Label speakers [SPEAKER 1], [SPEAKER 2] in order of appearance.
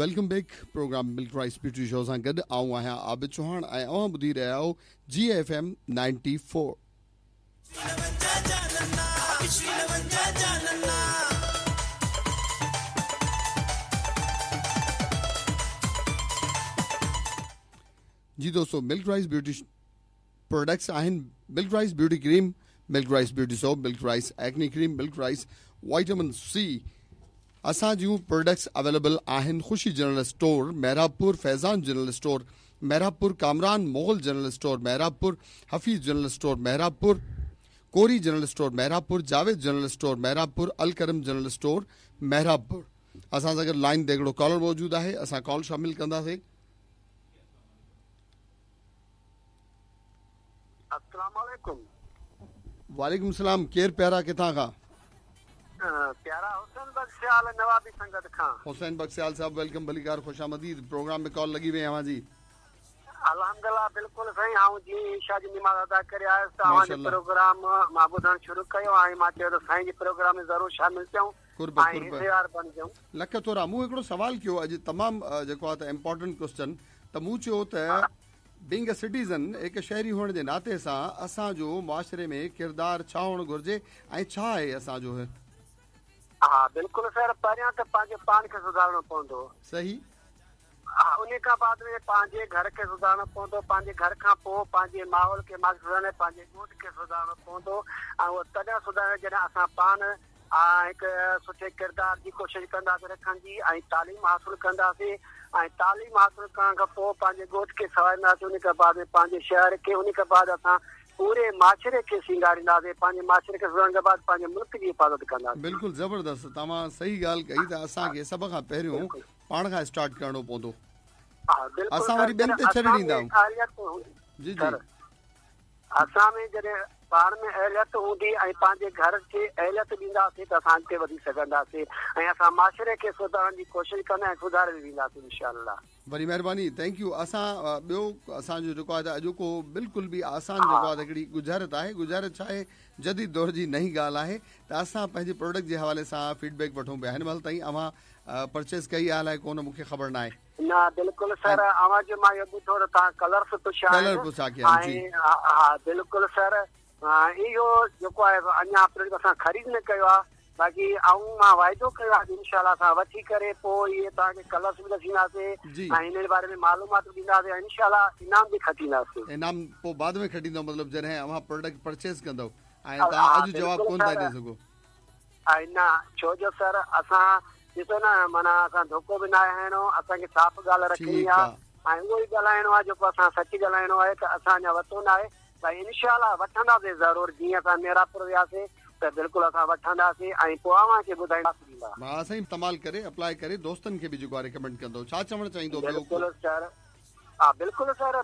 [SPEAKER 1] Welcome back programme milk rice beauty show سان گڏ آئون آهيان عابد چوهاڻ ۽ اوهان ٻڌي رهيا آهيو جي ايف ايم 94. جي دوستو ملڪ رائس بيوٽي پروڊڪٽس آهن milk rice beauty cream, milk rice beauty soap, milk rice acne cream, milk rice vitamin C اسان جون پروڊڪٽس اويليبل آهن Khushi general store Mehrabpur, Faizan general store Mehrabpur, Kamran Mughal general store Mehrabpur, Hafeez general store Mehrabpur, Kori general store Mehrabpur, Javed general store Mehrabpur, Alkaram general store Mehrabpur. اسان سان گڏ line تي هڪڙو caller موجود آهي اسان call شامل ڪنداسين.
[SPEAKER 2] السلام عليڪم.
[SPEAKER 1] وعليڪم السلام ڪير پيارا ڪٿان کان.
[SPEAKER 2] پيارا حسين بخش سيال نوابي سنگت کان.
[SPEAKER 1] حسين بخش سيال صاحب welcome ڀليڪار خوش آمديد پروگرام ۾ ڪال لڳي وئي اوهان جي.
[SPEAKER 2] الحمدلله بلڪل سائين آئون جيئن ئي عشاء جي نماز ادا ڪري آيس ته اوهان جو پروگرام مان ٻڌڻ شروع ڪيو ۽ مان چيو ته سائين جي پروگرام ۾ ضرور شامل ٿيون
[SPEAKER 1] قرب
[SPEAKER 2] ۽
[SPEAKER 1] قرب
[SPEAKER 2] حصيدار بڻجون.
[SPEAKER 1] لک ٿورا مون هڪڙو سوال ڪيو اڄ تمام جيڪو آ ته امپارٽنٽ ڪوسچن ته مون چيو ته بينگ ا سٽيزن هڪ شهري هئڻ جي ناتي سان اسان جو معاشري ۾ ڪردار ڇا هئڻ گهرجي ۽ ڇا آهي اسان جو؟
[SPEAKER 2] ها بلڪل سر پهريان ته پنهنجي پاڻ کي سڌارڻو پوندو.
[SPEAKER 1] صحيح.
[SPEAKER 2] ها انهي کان بعد ۾ پنهنجي گهر کي سڌارڻو پوندو پنهنجي گهر کان پوء پنهنجي ماحول کي سڌارڻو پنهنجي ڳوٺ کي سڌارڻو پوندو ۽ اهو تڏهن سڌارڻو جڏهن اسان پاڻ هڪ سٺي ڪردار جي ڪوشش ڪنداسين رکڻ جي ۽ تعليم حاصل ڪنداسين ۽ تعليم حاصل ڪرڻ کان پوء پنهنجي ڳوٺ کي سنوارينداسين ان کان بعد ۾ پنهنجي شهر کي ان کان بعد اسان پوري معاشري کي سينگارينداسين پنهنجي معاشري کي سڌارڻ کان بعد پنهنجي ملڪ جي حفاظت ڪنداسين.
[SPEAKER 1] بلڪل زبردست توهان صحيح ڳالهه ڪئي ته اسان کي سڀ کان پهريون پاڻ کان اسٽارٽ ڪرڻو پوندو اسان وري ٻين تي ڇڏي ڏيندا آهيون جي جي.
[SPEAKER 2] اسان ۾ جڏهن پاڻ ۾ اهليت هوندي ۽ پنهنجي گهر کي اهليت ڏينداسين ته اسان اڳتي وڌي سگهنداسين ۽ اسان معاشري کي سڌارڻ جي ڪوشش ڪندا ۽ سڌاري به وينداسين انشاء الله.
[SPEAKER 1] وڏي مهرباني thank you اسان ٻيو اسان جو جيڪو آهي ته اڄوڪو بلڪل به آسان جيڪو آهي ته هڪڙي ڳجهارت آهي ڳجهارت ڇا آهي جديد دور جي نئين ڳالهه آهي ته اسان پنهنجي پروڊڪٽ جي حوالي سان فيڊ بيڪ وٺون پيا هن مهل تائين اوهان پرچيز ڪئي آهي الائي ڪونه مون کي خبر ناهي.
[SPEAKER 2] نه بلڪل سر اوهان جو مان اهو ٻڌو ته توهان ڪلرس پڇيا
[SPEAKER 1] آهن
[SPEAKER 2] ۽ ها بلڪل سر اهو جيڪو آهي اڃا پروڊڪٽ اسان خريد نه ڪيو آهي باقي آئون مان واعدو ڪيو آهي انشاء الله اسان وٺي ڪري پوء اهي توهان کي ڪلرس به ڏسينداسين ۽ هن جي باري ۾ معلومات به ڏينداسين ۽ انشاء الله انعام به کٽينداسين.
[SPEAKER 1] انعام پوء بعد ۾ کٽيندؤ مطلب جڏهن اوهان پروڊڪٽ پرچيز ڪندؤ ۽ توهان اڄ جواب ڪونه ٿا ڏئي سگهو.
[SPEAKER 2] ۽ نه ڇو جو سر اسان ڏسو نه معنيٰ اسان ڌوڪو به ناهي هڻڻو اسان کي صاف ڳالهه رکڻي آ ۽ اهو ئي ڳالهائڻو آ جيڪو اسان سچ ڳالهائڻو آهي ته اسان اڃا ورتو ناهي ڀائي انشاء الله وٺنداسين ضرور جيئن اسان ميرانپور وياسين ته بلڪل اسان وٺنداسين ۽ پوء اوهان کي ٻڌائينداسين ڏيندا.
[SPEAKER 1] ها سائين استعمال ڪري اپلائي ڪري دوستن کي به جيڪو آ ريڪمينڊ ڪندو ڇا چوڻ چاهيندو ٻيو
[SPEAKER 2] بلڪل سر ها بلڪل سر.